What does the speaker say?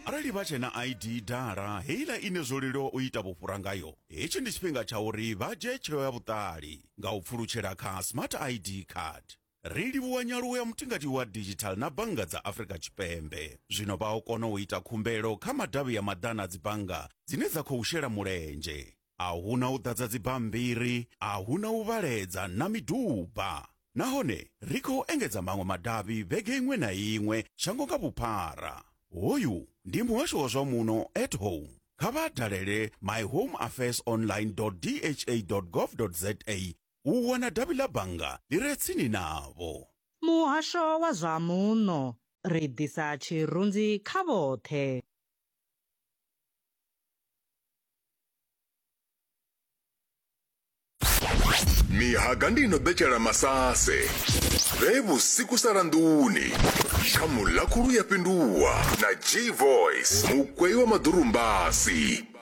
Arali vha tshe na ID dala heiḽa ine zwo leluwa u ita vhufhura ngayo, hetshi ndi tshifhinga tsha uri vha dzhie tsheo ya vhuṱali nga u pfulutshela kha Smart ID card. Ri livhuwa nyaluwo ya mutingati wa digital na bannga dza Afrika Tshipembe. Zwino vha o kona u ita khumbelo kha madavhi a maḓana a dzibannga dzine dza khou shela mulenzhe. A hu na u ḓadza dzibammbiri, a hu na u vhaledza na miduba. Nahone ri khou engedza maṅwe madavhi vhege iṅwe na iṅwe shango nga vhuphara. Hoyu ndi Muhasho wa zwa Muno at Home. Kha vha dalele myhomeaffairsonline.dha.gov.za u wana davhi ḽa bannga ḽi re tsini navho. Muhasho wa zwa Muno, Ri ḓisa tshirunzi kha vhoṱhe. Mihaga ndi ino betshela masase vhe vhusiku sala nḓuni kha mulakhulu ya fhinduwa na G Voice mukwei wa maḓurumbasi.